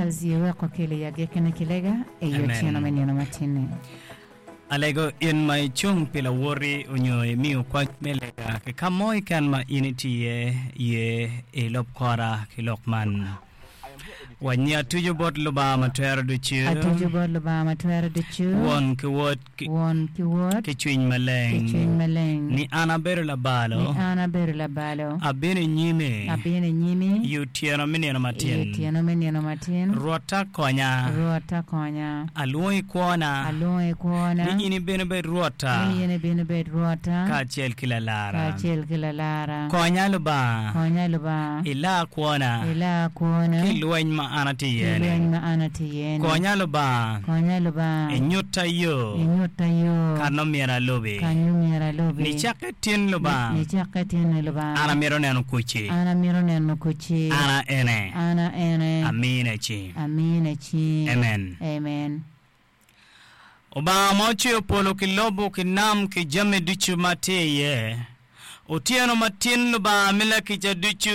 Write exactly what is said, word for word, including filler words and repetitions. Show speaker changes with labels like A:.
A: Charles yeweko kele ya gekene kilega eyo
B: Amen.
A: otieno me nino matin-ni.
B: Alego in ma icung pi lawoti onyo imiyo kwac me lega ki ka mo keken ma in itye iye ilub kora ki lok man. Wanyi atuco bot Lubanga ma twero ducu,
A: Atuco bot Lubanga ma twero ducu,
B: Won ki Wod ki,
A: Won ki Wod
B: ki Cwiny
A: ki
B: Maleng,
A: Cwiny Maleng,
B: ni an abedo
A: ni
B: labalo,
A: an abedo labalo,
B: abino i nyimi
A: abino i nyimi
B: i otyeno me nino
A: i
B: matin.
A: otyeno me nino matin,
B: Rwotta konya,
A: Rwotta konya,
B: alwongo i kwona,
A: alwongo i kwona,
B: ni in ibino ibed Rwotta
A: ni in ibino ibed Rwotta
B: kacel ki lalara.
A: kacel ki lalara.
B: Konya Lubanga,
A: Konya Lubanga,
B: ila kwona
A: ila kwona
B: ki lweny ma an atye
A: ki
B: iye-ni.
A: lweny ma an atye iye-ni.
B: Konya Lubanga,
A: Konya Lubanga,
B: inyutta yo
A: inyutta yo
B: ka nongo myero alubi.
A: kanyo myero alubi.
B: Nicakke tin Lubanga,
A: Nicakke tin-ni
B: an
A: Lubanga,
B: amito neno kucci.
A: an amito neno kucci.
B: An a ene,
A: An a ene,
B: amine ci.
A: amine ci.
B: Amen.
A: Amen.
B: Obanga ma ocweyo polo ki lobo ki nam ki jami ducu ma tye iye. Otyeno matin Lubanga mi lakica ducu